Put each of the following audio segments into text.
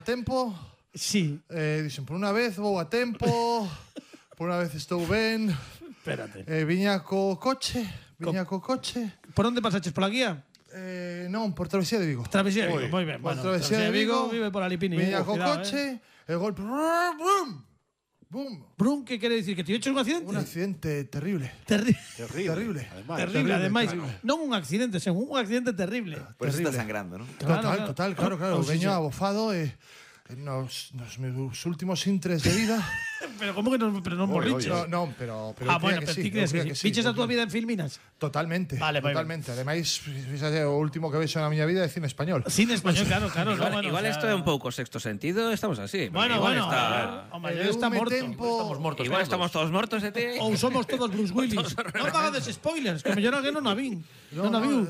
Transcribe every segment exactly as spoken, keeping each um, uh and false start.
tempo. Sí. Eh, dixen, por unha vez vou a tempo, por unha vez estou ben. Espérate. Eh, viña co coche, viña co coche. Por onde pasaches, pola guía? Eh, non, por Travesía de Vigo. Travesía de Vigo, moi ben. Por Bueno, Travesía de Vigo, vive por Alipini. viña eh, co cuidado, coche, e golpe, brum, bum. Brum, que quere dicir? Que te hecho un accidente? Un accidente terrible. Terri Terrible. Terrible. Además. terrible, ademais. Non un accidente, sen un accidente terrible. Por eso está Terrible. sangrando, ¿no? Claro, Total, claro. total, claro, claro. Oh, sí, Veño sí. abofado e eh, nos, nos meus últimos intres de vida. Pero como que non, pero non Oye, morriches? oye. No, non, pero, pero Ah, eu bueno, creía pero que ti sí, crees eu que creía sí. Viches a túa eu vida en Filminas? Totalmente, Vale, moi totalmente. Ademais, fíxate, o último que vexo na miña vida é cine español. Cine español, claro, claro. Igual, no, bueno, igual o sea, esto é un pouco sexto sentido, estamos así. porque Bueno, igual bueno. está- O maior está Deume morto. tempo. Estamos mortos. igual todos. estamos todos mortos de ti. Ou somos todos Bruce Willis. Non pagades spoilers, que mellor alguén non a vin. Non a viu.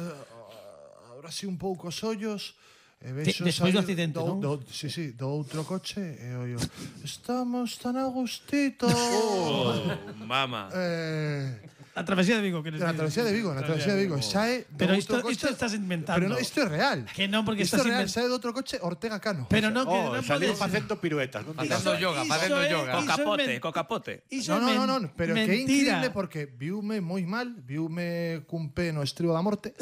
Ahora sí un pouco os ollos. E De- vexo despois do saír accidente, non? do, sí, sí, do outro coche e oio, estamos tan a gustito. Oh, mama. eh, A travesía de Vigo, que na travesía de Vigo, na travesía de Vigo. Sae do Pero outro isto, coche. isto estás inventando. Pero no, isto é real. Que non, porque isto estás é real, invent- sae do outro coche Ortega Cano. Pero non, que Oh, non salió podes... facendo piruetas, non digas. Facendo yoga, iso facendo é- yoga. iso Co é capote, men- co capote. Iso No, é no, no, men- no, pero que é mentira. increíble porque viume moi mal, viume cun pé no estribo da morte.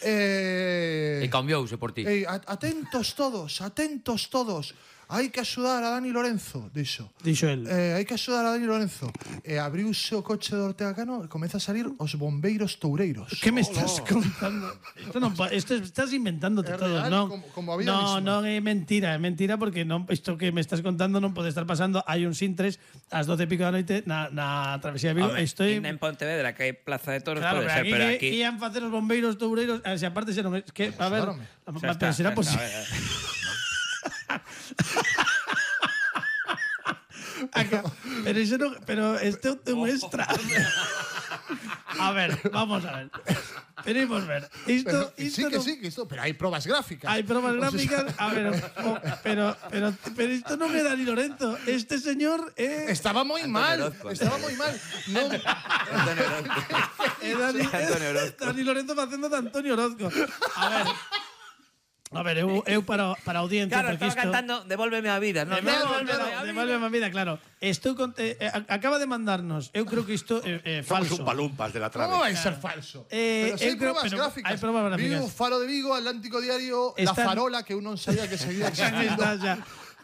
eh, E cambiouse por ti. Ei, a- atentos todos, atentos todos. Hai que axudar a Dani Lorenzo, dixo. Dixo el. Eh, hai que axudar a Dani Lorenzo. E abriuse o coche de Ortega Cano e comeza a salir os bombeiros toureiros. Que me estás contando? Isto non, pa- isto estás inventándote É todo, real, non? como- como a vida no, misma. non é mentira, é mentira porque non isto que me estás contando non pode estar pasando. Hai un Sintres ás doce e pico da noite na, na travesía de Vigo. Home, Estoy en Pontevedra, que hai Plaza de Toros, Claro, pode pero ser, aquí, pero que aquí... ian facer os bombeiros toureiros, a se aparte se non é que a ver, Axudárame. Xa pero está, será xa posible. está, a ver, Acá, pero iso non, pero isto é un extra. A ver, vamos a ver. Queremos ver. Isto, Pero, que isto sí, que non- sí, que isto, pero hai probas gráficas. Hai probas O sea, gráficas, a ver, o- pero, pero, pero isto non é Dani Lorenzo. Este señor é... Estaba moi mal, Orozco. estaba moi mal. Non, Antonio Orozco. é Dani, Antonio Orozco. Dani Lorenzo facendo de Antonio Orozco. A ver, a ver, eu, eu para, para a audiencia, Claro, porque estaba isto... cantando Devuélveme a vida, ¿no? Devuélveme Devuélveme a a devuélveme a vida, claro. Estou con, eh, eh, acaba de mandarnos, eu creo que isto é eh, Somos falso. un palumpas de la como trave. vai ser falso? Eh, pero si eu hai creo- probas pero gráficas. hai probas gráficas. Vigo, Faro de Vigo, Atlántico Diario, La Están- Farola, que eu non sabía que seguía Xa existindo. está, xa.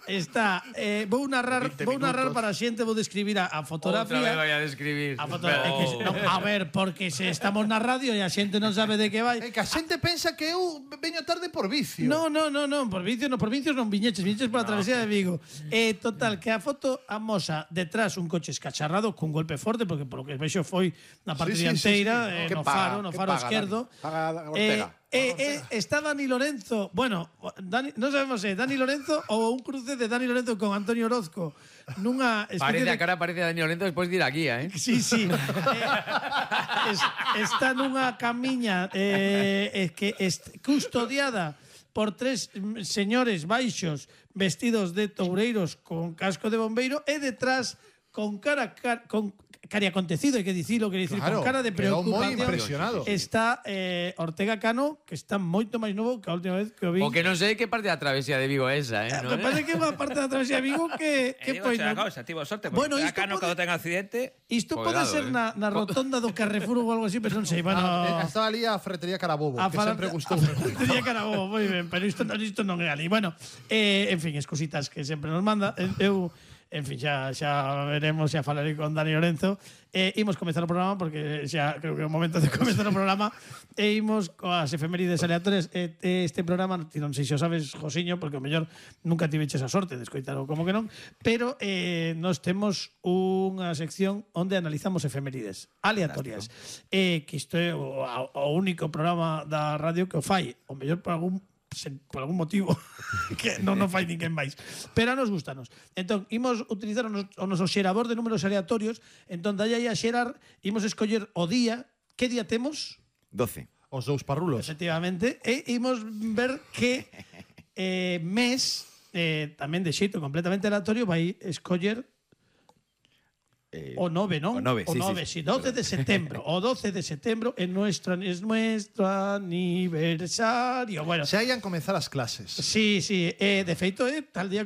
Está, eh, vou narrar, veinte vou narrar minutos. para a xente, vou describir a, a Outra vez fotografía. vai a describir. A foto, é que, se- non, a ver, porque se estamos na radio e a xente non sabe de que vai. É que a xente pensa que eu veño tarde por vicio. No, no, no, no, por vicios, no, por vicios non viñeches, viñeches pola travesía de Vigo. Eh, total, que a foto amosa detrás un coche escacharrado cun golpe forte, porque polo que vexo foi na parte Sí, sí, dianteira, sí, sí, eh, Que no paga, faro, no que faro paga, esquerdo. Dani? Paga Eh, Ortega. eh, eh, está Dani Lorenzo, bueno, Dani, non sabemos se é Dani Lorenzo ou un cruce de Dani Lorenzo con Antonio Orozco nunha especie Parece de a cara, parece a Dani Lorenzo despois de ir a guía, eh? Sí, sí. Eh, es, está nunha camiña eh, eh, que est custodiada por tres mm, señores baixos vestidos de toureiros con casco de bombeiro e detrás con cara, car, con cari acontecido, hai que dicilo, que dicir, Claro, con cara de quedou moi preocupación. impresionado. Está eh, Ortega Cano, que está moito máis novo que a última vez que o vi. O que non sei que parte da travesía de Vigo é esa, eh? Eh, ¿no? Me parece que é unha parte da travesía de Vigo que, E que digo, foi... xa, no- cousa, tivo sorte, Bueno, porque isto acá no pode- cando ten accidente, Isto pode Cuidado, ser eh. na, na rotonda do Carrefour ou algo así, pero non sei, bueno... Ah, estaba ali a Ferretería Carabobo, A que fala- sempre gustou. Tenía Carabobo, moi ben, pero isto, isto non é ali. Bueno, eh, en fin, es cositas que sempre nos manda. Eh, Eu, en fin, xa, xa veremos, xa falarei con Dani Lorenzo. Eh, imos comezar o programa, porque xa creo que é o momento de comezar o programa. E imos coas efemérides aleatorias. Eh, eh, este programa, ti non sei se o sabes, Josiño, porque o mellor nunca tiveches a sorte de escoitaro como que non, pero eh, nos temos unha sección onde analizamos efemérides aleatorias. Eh, que isto é o, o único programa da radio que o fai, o mellor por algún sen, por algún motivo que non nos fai ninguén máis, pero a nos gustanos. Entón, imos utilizar o, nos, o noso xerador de números aleatorios. Entón, dalle aí a xerar, imos escoller o día. Que día temos? doce. Os dous parrulos. Efectivamente, e imos ver que eh, mes, eh, tamén de xeito completamente aleatorio, vai escoller Eh, o nove, non? o nove, o sí, nove, sí. sí, doce de setembro. O doce de setembro é nuestro, es nuestro aniversario. Bueno, Se hayan comezar as clases. sí, sí, eh, de feito é tal día